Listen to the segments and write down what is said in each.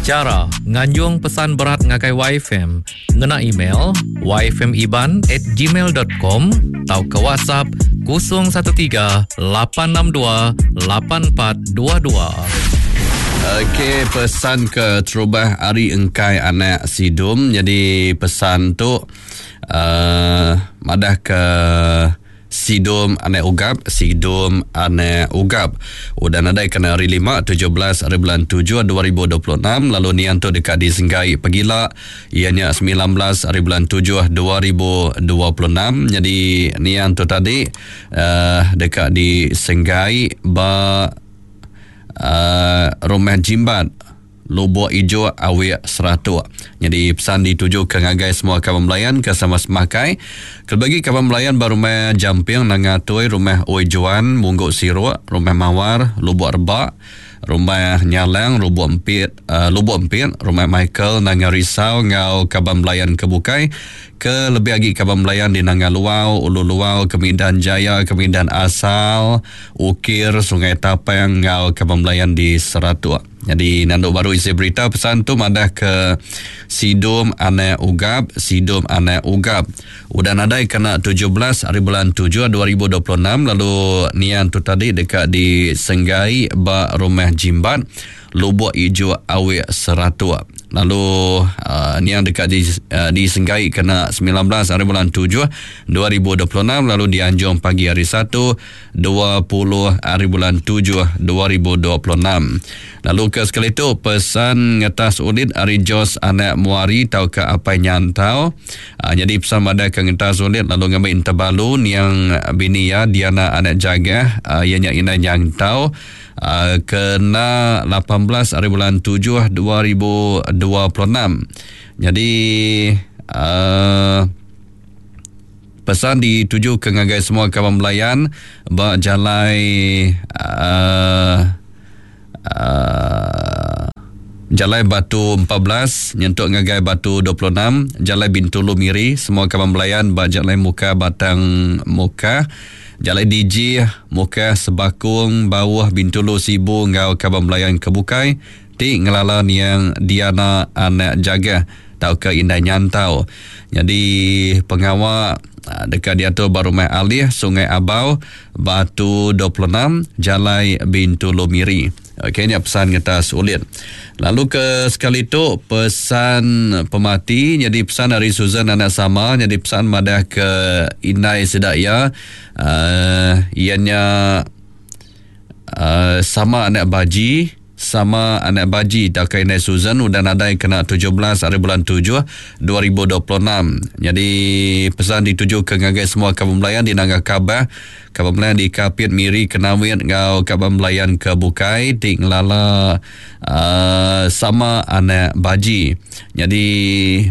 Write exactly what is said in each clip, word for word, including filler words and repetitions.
Chara nganjung pesan berat ngagai Y F M ngena email y f m iban at gmail dot com tauka WhatsApp kosong satu tiga lapan enam dua lapan empat dua dua. Okey, pesan ke terubah hari engkai anak Sidum. Jadi pesan tu uh, madah ke Sidum anak Ugap, Sidum anak Ugap. Udah nadai kena hari lima, tujuh belas hari bulan tujuh dua ribu dua puluh enam. Lalu nian tu dekat di Senggai Pegila, ianya sembilan belas hari bulan tujuh dua ribu dua puluh enam. Jadi nian tu tadi uh, dekat di Senggai ba uh, Rumah Jimbat, Lubuk Ijo Awik Seratuk. Jadi pesan dituju ke ngagai semua kawan melayan ke sama semakai. Kelebagi kawan melayan ba rumah Jamping Nangatoi, rumah Oi Juan, Mungguk Siruk, rumah Mawar, Lubuk Rebak, rumah Nyalang, Lubuk Empit, uh, Lubuk Empit, rumah Michael Nanga Risau ngau kawan melayan ke bukai. Ke lebih lagi kawan melayan di Nanga Luau, Ulu Luau, Kemidan Jaya, Kemidan Asal, Ukir, Sungai Tapang ngau kawan melayan di Seratuk. Jadi nanduk baru isi berita pesan tu madah ke Sidum anak Ugap, Sidum anak Ugap. Udah nadai kena tujuh belas hari bulan tujuh dua ribu dua puluh enam. Lalu nian tu tadi dekat di Senggai ba Rumah Jimbat, Lubuk Ijo Awik Seratuk. Lalu uh, nian dekat di, uh, di Senggai kena sembilan belas hari bulan tujuh dua ribu dua puluh enam. Lalu dianjung pagi hari Satu dua puluh hari bulan tujuh dua ribu dua puluh enam. Lalu ke sekali tu pesan ngetas ulit hari Jos anak Muari tau ke apai nyantau. Uh, jadi pesan pada ke ngetas ulit lalu ngambil interbalu niang bini ya Diana anak jaga, uh, ianya ina nyantau. Uh, kena lapan belas hari bulan tujuh dua ribu dua puluh enam. Jadi uh, pesan dituju ke ngagai semua kawan melayan ba jalai uh, uh, Jalai Batu empat belas nyentuk ngagai Batu dua puluh enam, Jalai Bintulu Miri, semua kawan melayan ba Jalai Muka Batang Muka, Jalai D J Muka Sebakung Bawah Bintulu Sibu ngau kawan melayan kebukai ti ngelala niang Diana anak jaga tau ke Indai Nyantau. Jadi pengawal dekat diatur ba Rumah Alih Sungai Abau Batu dua puluh enam Jalai Bintulu Miri. Okey, ni pesan kita sulit. Lalu ke sekali tu pesan pemati, jadi pesan dari Susan anak sama, jadi pesan madah ke Indai Sedaya, uh, ianya uh, sama anak baji, sama anak baji tak ke Indai Susan udah nadai kena tujuh belas hari bulan tujuh dua ribu dua puluh enam. Jadi pesan dituju ke ngagai semua kawan melayan di Nanga Kabah, kawan melayan di Kapit Miri Kenawit ngau kawan melayan ke Bukai ti ngelala uh, sama anak baji. Jadi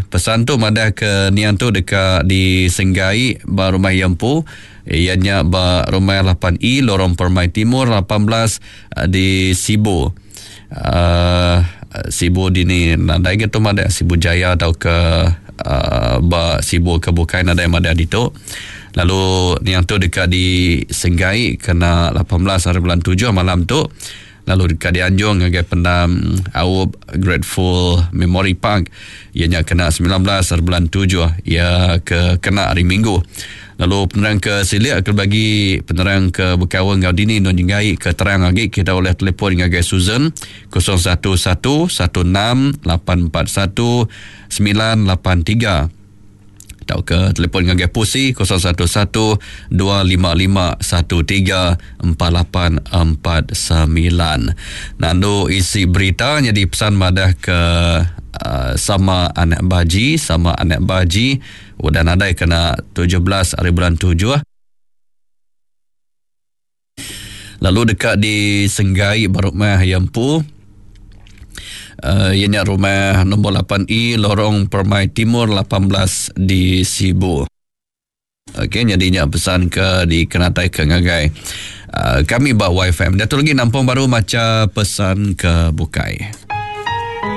pesan tu madah ke nian tu dekat di Senggai ba Rumah Yempu, ianya ba Rumah lapan E Lorong Permai Timur lapan belas di Sibu. Uh, Sibu di ni nadai gitu madah Sibu Jaya atau ke uh, ba Sibu ke Bukai nadai madah ditu. Lalu niang tu dekat di Senggai kena lapan belas hari bulan tujuh malam tu. Lalu dekat di Anjung ngagai pendam Aup Grateful Memory Park, ianya kena sembilan belas hari bulan tujuh, ia ke kena hari Minggu. Lalu penerang ke Silik akan bagi penerang ke Bekawan ngau dini non jenggai ke terang lagi kita oleh telefon ngagai Susan kosong satu satu satu enam lapan empat satu sembilan lapan tiga atau ke telefon ngagai Pusi kosong satu satu dua lima lima satu tiga empat lapan empat sembilan. Nandu isi berita jadi pesan madah ke uh, sama anak baji, sama anak baji udah nadai kena tujuh belas hari bulan tujuh. Lalu dekat di Senggai Barumah Yampu, uh, ianya rumah nombor lapan E Lorong Permai Timur lapan belas di Sibu. Okey, jadinya pesan ke di Kenatai ke ngagai uh, kami ba Y F M. Dia tu lagi nampung baru maca pesan ke Bukai.